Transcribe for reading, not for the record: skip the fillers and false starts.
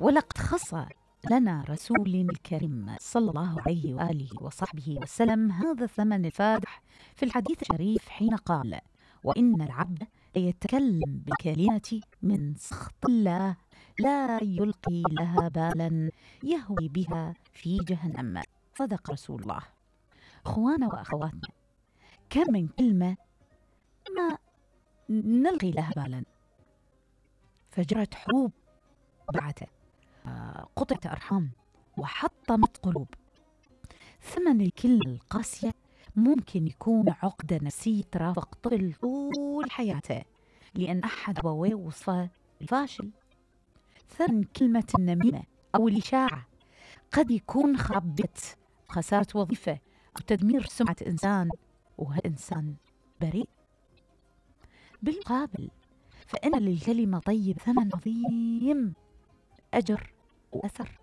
ولقد خص لنا رسولنا الكريم صلى الله عليه وآله وصحبه وسلم هذا الثمن الفادح في الحديث الشريف حين قال: وإن العبد ليتكلم بكلمة من سخط الله لا يلقي لها بالا يهوي بها في جهنم. صدق رسول الله. أخوانا وأخواتنا، كم من كلمة ما نلقي لها بالا، فجرت حروب بعدها، قطعت أرحام، وحطمت قلوب. ثمن الكلمة القاسية ممكن يكون عقدة نفسية ترافق طفل طول حياته لأن أحد أبويه وصفه الفاشل. ثمن كلمة النميمة أو الإشاعة قد يكون خراب بيت، خسارة وظيفة، أو تدمير سمعة إنسان وهالإنسان بريء. بالمقابل فإن للكلمة طيب ثمن عظيم، أجر وأثر.